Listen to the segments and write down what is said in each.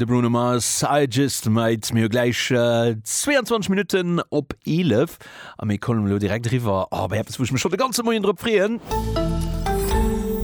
De Bruno Mars, I Just Might. Mir hu gläich 22 Minutten op 11 a mir kommen elo direkt eriwwer oh, bei eppes, wou ech mech schonn de ganze Moien drop freeën.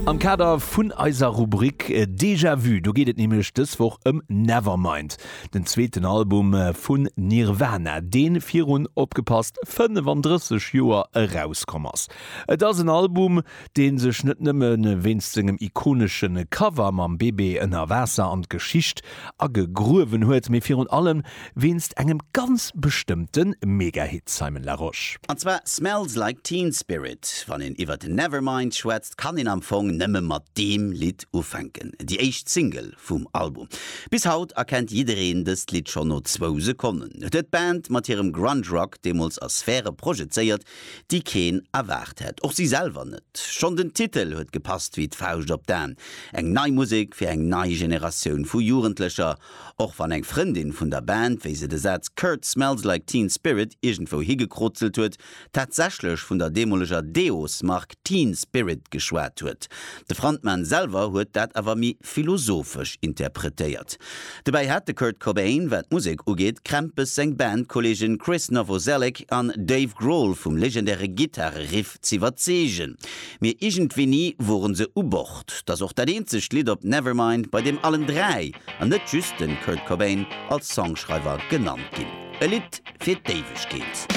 Am Kader vun eiser Rubrik Déjà Vu, do geet et nämlech dës Woch ëm Nevermind, den zweeten Album vun Nirvana, dee virun, opgepasst, 35 Joer erauskomm ass. Et ass en Album, dee sech net nëmme wéinst sengem ikonesche Cover mam Bébé ënner Waasser an d'Geschicht agegruewen huet, mee virun allem wéinst engem ganz bestëmmte Megahit, Simon Larosche. An zwar Smells Like Teen Spirit. Wann een iwwert Nevermind schwätzt, kann een am Fong nëmme mat deem Lidd ufänken. Déi éischt Single vum Album. Bis haut erkennt jiddereen dëst Lidd schonn no zwou Sekonnen. Et huet d'Band mat hirem Grunge Rock deemools a Sphäre projezéiert, déi keen erwaart hätt, och si selwer net. Schonn den Titel huet gepasst wéi d'Fauscht op d'Aen, eng nei Musek fir eng nei Generatioun vu Jugendlecher. Och wann eng Frëndin vun der Band, wéi se de Saz Kurt smells like teen spirit iergendwou higekrozelt huet, tatsächlech vun der deemoleger Deos-Mark Teen Spirit geschwat huet. De Frontman selwer huet dat awer méi philosophesch interpretéiert. Dobäi hat de Kurt Cobain, wat d'Musek ugeet, Krämpes seng Bandkolleegen Chris Novoselic an Dave Grohl vum legendäre Gittare-Riff z'iwwerzeegen. Mee iergendwéini woren se u Bord. 't ass och dat eenzegt Lidd op Nevermind, bei deem allen 3, an net just den Kurt Cobain, als Songschreiwer genannt ginn. E Lidd fir d'Éiwegkeet.